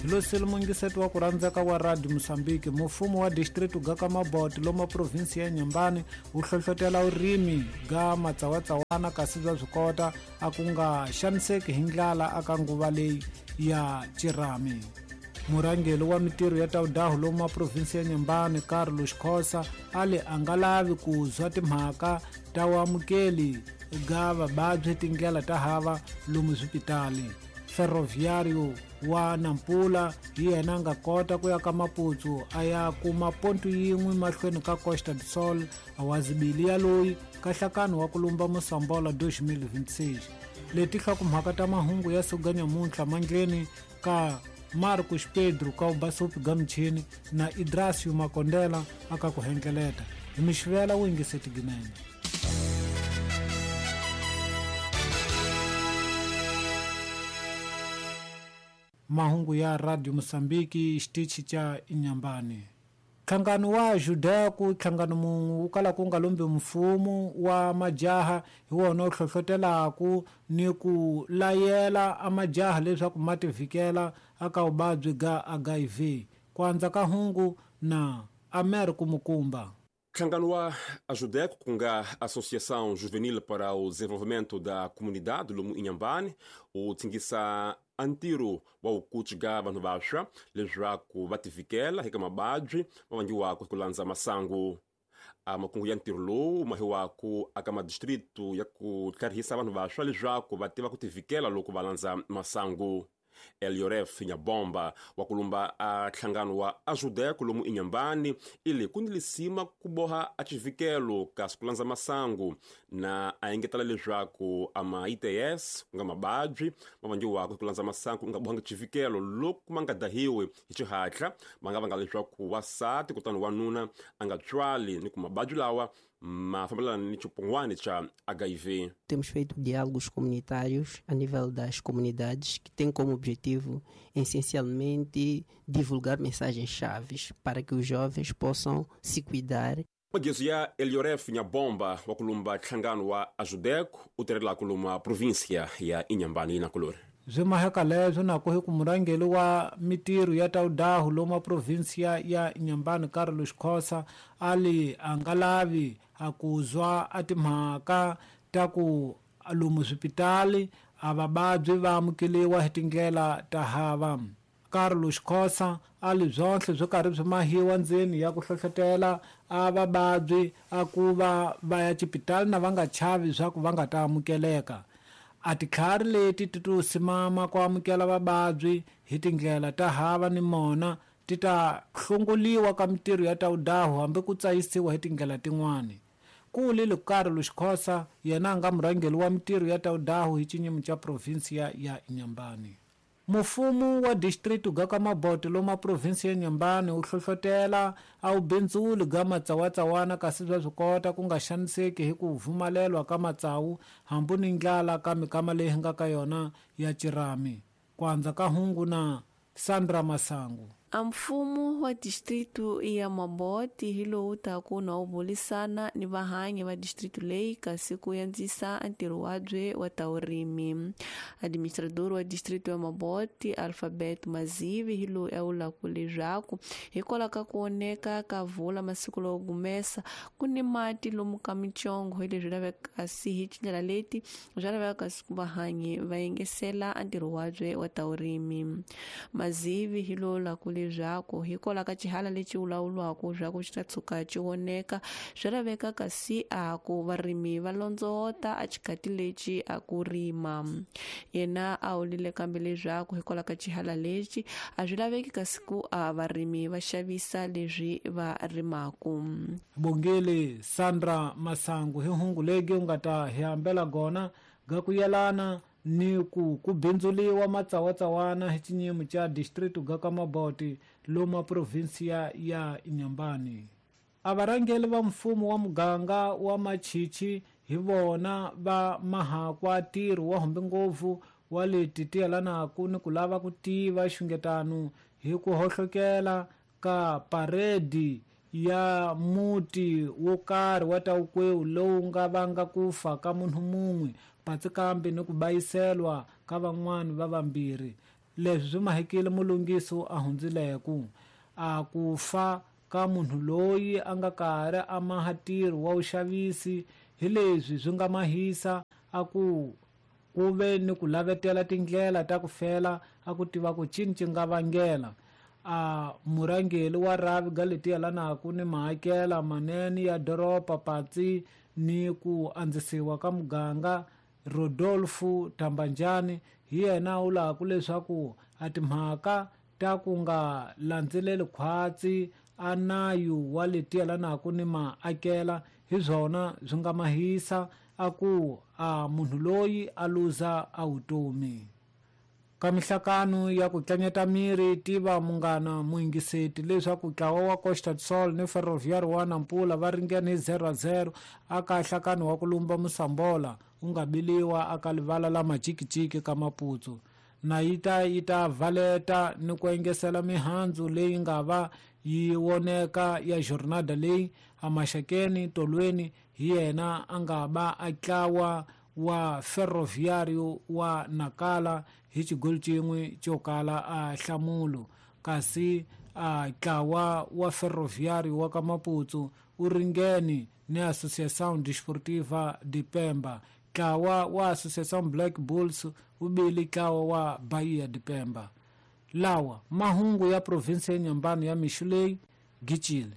Hi lo sele mungiseti wa ku rhandzeka wa Radio Mozambique. Mufumo wa district ga ka Mabote lomu provinsi ya Inhambane wu hlohlotela vurimi ga matsawatsawana kasi bya swi kota a ku nga xaniseki hi ndlala aka nguva leyi ya cirami. Murhangeri wa mitirho ya Taudahu lomu provinsi ya Inhambane Carlos Khosa a le a nga lavi ku zwa timhaka ta vuamukeli ga vavabyi tindlela ta hava lomu swipitali. Ferroviário wa Nampula hi yena a nga kota ku ya ka Maputo a ya kuma pontu yin'we mahlweni ka Costa do Sol a wazibili ya loyi ka nhlakano wa ku lumba Mosambola 2026. Leti nhlokomhaka ta mahungu ya siku ga nyamuntlha mandleni ka Marcos Pedro ka Ubasopi ga muchini na Idrasio Makondela aka ku hengeleta. Hi mixivela wu yingiseti ginene. Mahungu ya Radio Mozambique xitichi xa Inhambane. Nhlangano wa Judeco, nhlangano mun'we wu kala ku nga lumbi mfumo wa majaha hi wona wu hlohlotelaku ni ku layela a majaha leswaku ma tivikela aka vuvabyi ga HIV. Ku andza ka hungu na Amer Kumukumba. Nhlangano wa Ajudeco, ku nga Associação Juvenil para o Desenvolvimento da Comunidade lomu Inhambane, wu tsingisa a ntirho wa wukuci ga vanhu vantshwa leswaku va tivikela eka mavabyi ma vangiwaka hi ku landza masangu. A makungu ya ntirho lowu mahiwaku aka madistritu ya ku tlharihisa vanhu vantshwa leswaku va tiva ku tivikela loko va landza masangu. Elioref Nyabomba wa ku lumba a nhlangano wa Ajudeco lomu Inhambane ili ku ni lisima ku boha a xivikelo kasi ku landza masangu na a engetela leswaku a ma ITS ku nga mavabyi ma vangiwaka hi ku landza masangu ku nga bohangi xivikelo loko ma nga dahiwi hi xihatla ma nga vanga leswaku wasati kutani wanuna a nga tswali ni ku mavabyi lawa ma fambelana ni xipungwani xa HIV. Temos feito diálogos comunitários a nível das comunidades que têm como objetivo, essencialmente, divulgar mensagens-chave para que os jovens possam se cuidar. Magezo ya Elioref Nyabomba wa ku lumba nhlangano wa Ajudeco u tirhela ku luma provinsia ya Inhambane na kulori. Byi maheka leswo na ku hi ku murhangeri wa mitirho ya Taudahu lomu provinsia ya Inhambane Carlos Khosa a li a nga lavi a ku zwa a timhaka ta ku lomu swipitali a vavabyi va amukeliwa hi tindlela ta hava. Carlos Khosa a li byonhle byo karhi byi mahiwa ndzeni ya ku hlohlotela a vavabyi a ku va va ya xipitali na va nga chavi swa ku va nga ta amukeleka. A titlhari leti ti to simama ku amukela vavabyi hi tindlela ta hava ni mona ti ta hlongoliwa ka mitirho ya Taudahu hambi ku tsayisiwa hi tindlela tin'wani. Ku lile Carlos Khosa yena a nga murhangeri wa mitirho ya Taudahu hi xinyimo xa provinsia ya Inhambane. Mufumo wa district ga ka Mabote lomu provinsi ya Inhambane wu hlohlotela a wu bindzuli ga matsawatsawana kasi bya swi kota ku nga xaniseki hi ku vumalelwa ka matsawu hambi ni ndlala ka mikama leyi nga ka yona ya cirami. Ku andza ka hungu na Sandra Masangu. A mfumo wa distritu ya Mabote hi lowu taku na wu bulisana ni vahanyi va distritu leyi kasi ku yandzisa ntirho wabye wa ta vurimi. Administrador wa distritu ya Mabote Alphabet Mazivi hi loyi a vulaka leswaku hikwalaho ka ku oneka ka vula masiku lowo gumesa ku ni mati lomu ka mitsongo hi leswi lavekaka kasi hi tindlela leti bya laveka kasi ku vahanyi va yengesela ntirho wabye wa ta vurimi. Mazivi hi lowu vulaka leswaku hikwalaho ka xihala lexi vulavuriwaka swa ku xi ta tshuka xi voneka swi laveka kasi a ku varimi va londzovota a xikati lexi a ku rima. Yena a vulile kambe leswaku hikwalaho ka xihala lexi a swi laveki kasi ku a varimi va xavisa leswi va rimaku. Bongile Sandra Masangu hi hungu legi u nga ta hi hambela gona ga ku yelana ni ku ku bindzuliwa matsawatsawana hi xinyimo xa district ga ka Mabote lomu provinsia ya Inhambane. A varhangeri va mfumo wa muganga wa Machichi hi vona va mahakwa ntirho wa humbi ngopfu wa leti ti yelanaka ni ku lava ku tiva xungetano hi ku hohlokela ka paredi ya muti wo karhi wa Tawukwewu lowu nga vanga ku fa ka munhu mun'we patsi kambe ni ku bayiselwa ka van'wani va vambirhi. Leswi swi mahekile mulungisi a hundzileku. A ku fa ka munhu loyi a nga karhi a maha ntirho wa vuxavisi hi leswi swi nga mahisa a ku ku ve ni ku lavetela tindlela ta ku fela a ku tiva ku cini ci nga vangela. A murhangeri wa rhavi ga leti yelanaka ni mahakela manene ya doroba patsi ni ku andzisiwa ka muganga Rodolfo Tambanjani hi yena a vulaka leswaku a timhaka ta ku nga landzeleli khwatsi a nayu wa leti yelanaka ni maakela hi swona swi nga mahisa a ku a munhu loyi a luza a vutomi. Ka mihlakano ya ku tlanyeta miri tiva munghana muyingiseti leswaku ntlawa wa Costa do Sol ni Ferroviário wa Nampula va ringene hi 0-0 aka nhlakano wa ku lumba musambola wu nga biliwa aka livala la Majikijiki ka Maputo. Na yi ta yi ta valeta ni ku engesela mihandzu leyi nga va yi voneka ya jornada leyi amaxakeni tolweni hi yena a nga ba a tlawa wa Ferroviário wa Nacala hi xigoli xin'we xo kala a nhlamulo, kasi a ntlawa wa Ferroviário wa ka Maputo wu ringene ni Associação Desportiva de Pemba. Ntlawa wa Associação Black Bulls wu bile ntlawa wa Bahia de Pemba. Lawa mahungu ya provinsi ya Inhambane ya mixo leyi gicile.